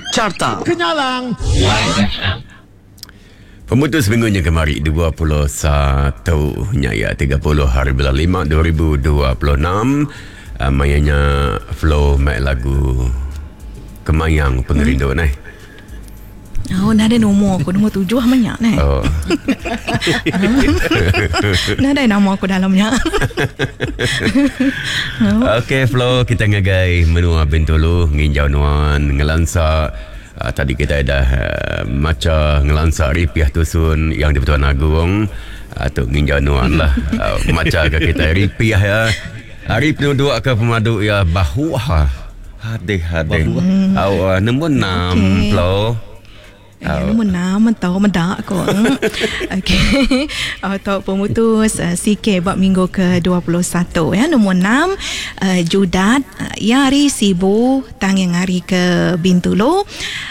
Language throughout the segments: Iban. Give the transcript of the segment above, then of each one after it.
Carta Kenyalang. Pemutus minggu nya kemari 21 nya ya 30 hari bulan 5 2026 uh, maya nya flow mai lagu Kemayang Pengerindu hmm. neh. Oh, nadai nombor aku, nombor tujuh banyak neh. Oh. Nadai nama aku dalamnya. Okey Flo, kita ngagai menua Bintulu nginjau nuan ngelansa uh, tadi kita dah uh, macha ngelansa ripiah tusun yang di Pertuan Agong uh, tu nginjau nuan lah uh, macha ke kita ripiah ya. Hari penuduk ke pemadu ya bahuah. Hadih hadih. Au uh, nombor 6 Okey. Flo. Eh, nombor 6 tau meda ko. Okey. Atau pemutus CK buat minggu ke-21 ya. Nombor 6 uh, Judat uh, yang hari Sibu tang yang hari ke Bintulu.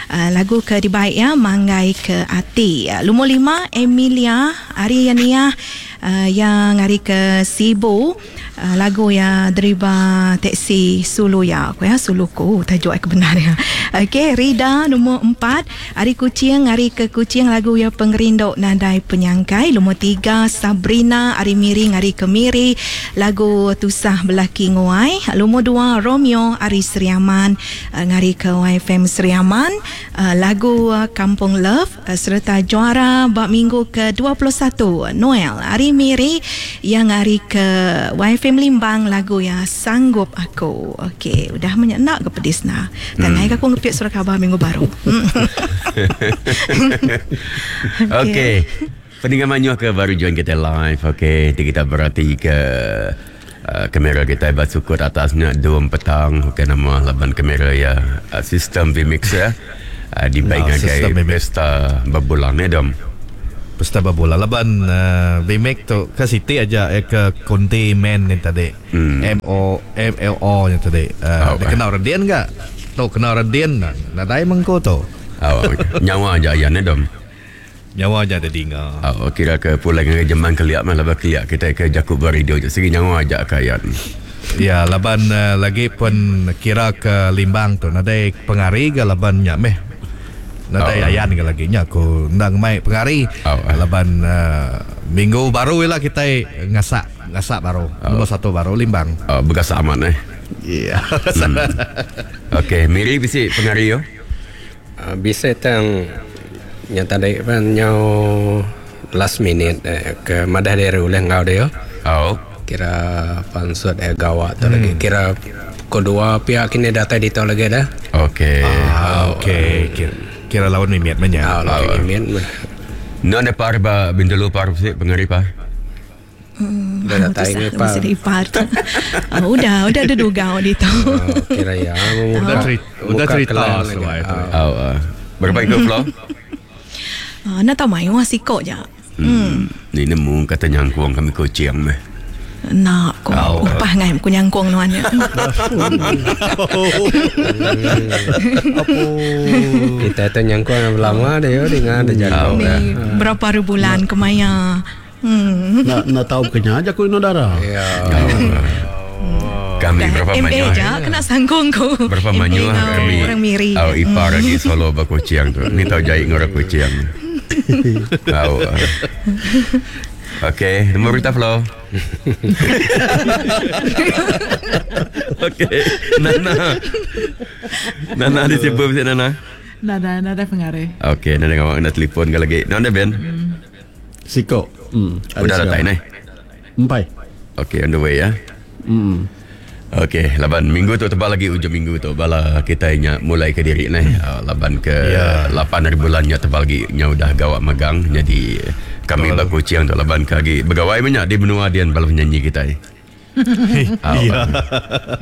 Uh, lagu ke dibaik ya Manggai ke Ati. Uh, nombor 5 Emilia hari yang nia uh, yang hari ke Sibu. Uh, lagu ya deriba teksi sulu ya aku ya suluku tajuk aku benar ya. Okey, Rida nombor 4 hari Kuching hari ke Kuching lagu ya Pengerindu Nadai Penyangkai. Nombor 3 Sabrina hari Miring hari ke Miri lagu Tusah Belaki Nguai. Nombor 2 Romeo hari Seriaman uh, ngari ke YFM Seriaman uh, lagu uh, Kampung Love uh, serta juara bab minggu ke-21 Noel hari Miri yang hari ke YFM Limbang lagu ya Sanggup Aku. Okey, udah menyenak ke pedis nah. Dan naik aku ngepit surat khabar minggu baru. Okey. Pendengar manyuh ke baru join kita live. Okey, nanti kita berhati ke uh, kamera kita bersukut atasnya 2 petang. Okey, nama laban kamera ya uh, sistem vMix ya. Uh, dibaik Ah, ngagai sistem vMix. pesta berbulan ni dom. Pesta berbola laban uh, VMAX tu ke City aja eh, ke Conti Man ni tadi. M O M L O ni tadi. Oh, Uh, dia kena Radian enggak? Tu kena Radian nah. Nadai mengko tu. Oh, nyawa aja ayan ni dom. Nyawa aja ada dinga. Oh, kira ke pulang ngagai jeman keliak mah laban keliak kita ke jakub beradio je. Segi nyawa aja kayan. Ya laban uh, lagi pun kira ke Limbang tu nadai pengari ke laban nya meh. Nadai Oh. ayan ke lagi nya aku ndang mai pengari. Oh. Laban uh, minggu baru lah kita ngasak ngasak baru. Nombor satu baru Limbang. Oh, begas aman eh. Ya. Okey, Miri bisi pengari yo. Bisa tang yang tadi pan nyau last minute eh, ke madah dari uleh ngau dia. Oh. Kira pansut eh gawat tu lagi. Kira kedua pihak kini datang di tu lagi dah. Okey. Ah, okey. Kira, kira lawan mimiat menya. Ah, lagi min. No ada par ba Bintulu par bisi pengari par. Dah datang ni Tusah pa. mesti ipar tu. Ah, udah, udah ada duga di tu. Oh, kira ya. Udah cerita, udah cerita semua itu. Oh, uh, berapa ikut flow? Ah, nak tahu main wah sikok je. Hmm. Ni nemu kata nyangkuang kami kucing meh. Nak ko Oh. upah ngai ku nyangkong nuan ya. Kita tu nyangkung lama dia dengan ada jago. Ni berapa hari bulan kemaya. Hmm. Nak nak tahu kenya aja aku ino darah. Ya. Kami berapa MA banyak je kena sangkong ku. Berapa MA banyak ngau kami orang Miri. Oh, ipar lagi solo ba kucing tu. Ni tahu jahit ngora kucing. Tahu. Okey, nombor berita flow. Okey, Nana. Nana di siapa bisa Nana? Nada, nada pengaruh. Okey, Nana ngawak kena telefon ke lagi. Nana Ben. Siko. Hmm. Udah datang ni. Empai. Okey, on the way ya. Hmm. Okey, laban minggu tu tebal lagi ujung minggu tu bala kita nya mulai ke diri ni. Uh, laban ke Ya. 8 hari bulan nya tebal lagi nya udah gawak magang jadi kami bak kucing tu laban ke lagi begawai banyak di benua dian bala penyanyi kita ni. Ya.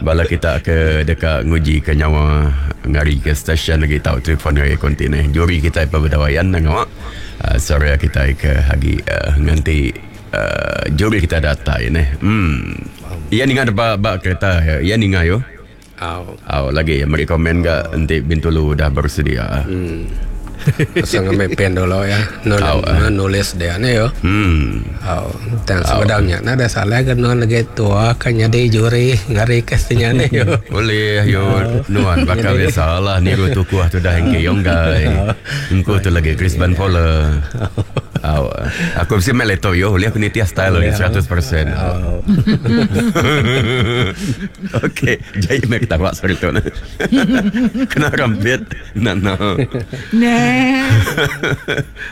Bala kita ke dekat nguji ke nyawa ngari ke stesen lagi tahu telefon ngari konti ni. Juri kita apa berdawayan nang awak. Uh, sore kita ke hagi uh, nganti uh, juri kita datai ni. Hmm. Ia ninga ba ba kereta ya. Ia ninga yo. Au. Aw lagi yang beri komen ke nanti Bintulu dah bersedia. Hmm. Pasal ngambi pen dulu ya. Au, eh. Nulis dia ni yo. Au, tang sebedau nya nadai salah ke nuan lagi tua ke nyadi juri ngari ke senya ni yo. Boleh yo nuan bakal biasa lah niru tukuh tu dah engke yonggai. Engku tu lagi Chris Van Poller. Au, aku mesti main laptop yo, boleh aku nitiah style lagi 100%. Au. Okey, jai mek ketawa sorry tu. Kena rambut. Nah, nah. Neh.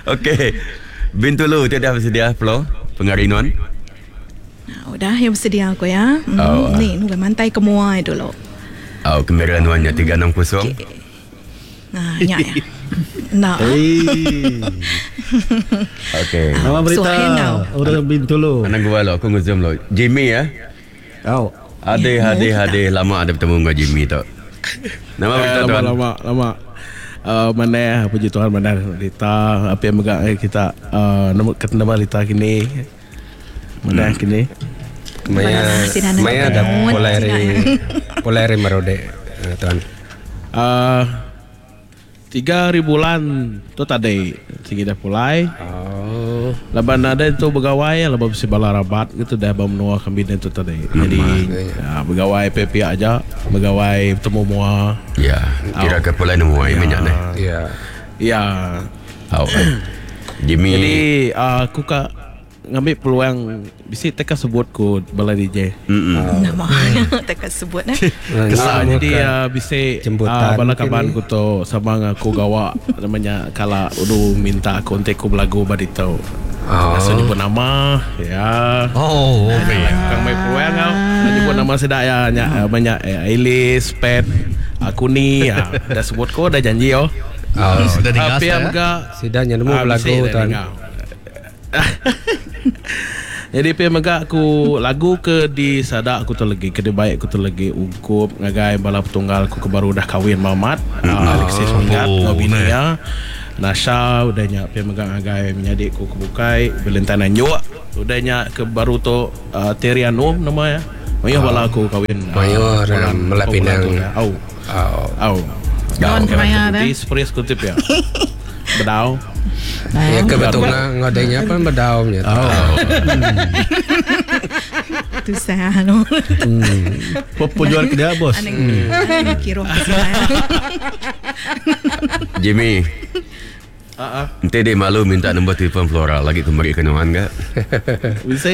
Okey. Bintulu tu dah bersedia Flo pengari nuan. Nah, udah ya bersedia aku ya. Oh, ah. Ni nunggu mantai ke muai dulu. Au, kamera nuan nya 360. Nah, nya ya. Nah. Hey. Okey. Nama berita Suah kau. orang Bintulu. Mana gua lo, aku ngezoom lo. Jimmy ya. Au. Ade Ya, ade kita. ade lama ada bertemu dengan Jimmy tu. Nama berita Eh, lama tuan. lama lama. Mana puji Tuhan mana berita apa yang megang kita nama nama berita kini. Mana kini. Maya Sida nak maya ada ketemu, polari sida. polari merode tuan. 3 hari bulan tu tadi sigi dah pulai. Oh. Laban ada tu begawai laban bisi bala rabat gitu dah ba menua kami tu tadi. Jadi ya, begawai pihak aja, begawai bertemu mua. Ya, kira ke pulai nemu ai banyak ni. Ya. Ya. Au. Jimmy. Jadi aku ka ngambil peluang bisi teka sebut ku bala DJ. Mm-mm. Nama tak sebut eh. Kesal jadi bisi Jemputan bala mungkin kaban ni. ku tu sama dengan aku gawa namanya kala udu minta aku untuk aku belagu badito. Oh. Langsung nyebut nama ya. Oh, okey. Kang mai peluang kau. Nak nyebut nama sedak ya banyak banyak Ailis, Pet, aku ni ya. Dah sebut ko dah janji oh. Oh. Sudah dengar Tapi saya. yang juga Sida nya nemu Ah, belagu bisi dah tuan. dengar. Jadi pe mega aku lagu ke di sadak aku tu lagi ke di baik aku tu lagi ungkup ngagai bala petunggal aku ke baru dah kahwin Mamat Alexis Minggat Oh, ngau bini ya Nasha udah nya pe mega ngagai menyadik ku ke bukai Valentine Anjuk udah nya ke baru tu Terry Anum nama ya Mayuh bala aku kahwin Mayuh, bulan- Melak bulan Pinang. tu dah. Au. Oh. Au. Nuan kemaya dah. Di spres kutip ya. Bedau. Ya kebetulan ngodenya pun bedau nya. Oh. Tu saya lo. Pejual ke dia bos. Aneh kira ke sini. Jimmy. Ah ah. Nanti dia malu minta nombor telefon Flora lagi kembali ke nuan ke? Bisa.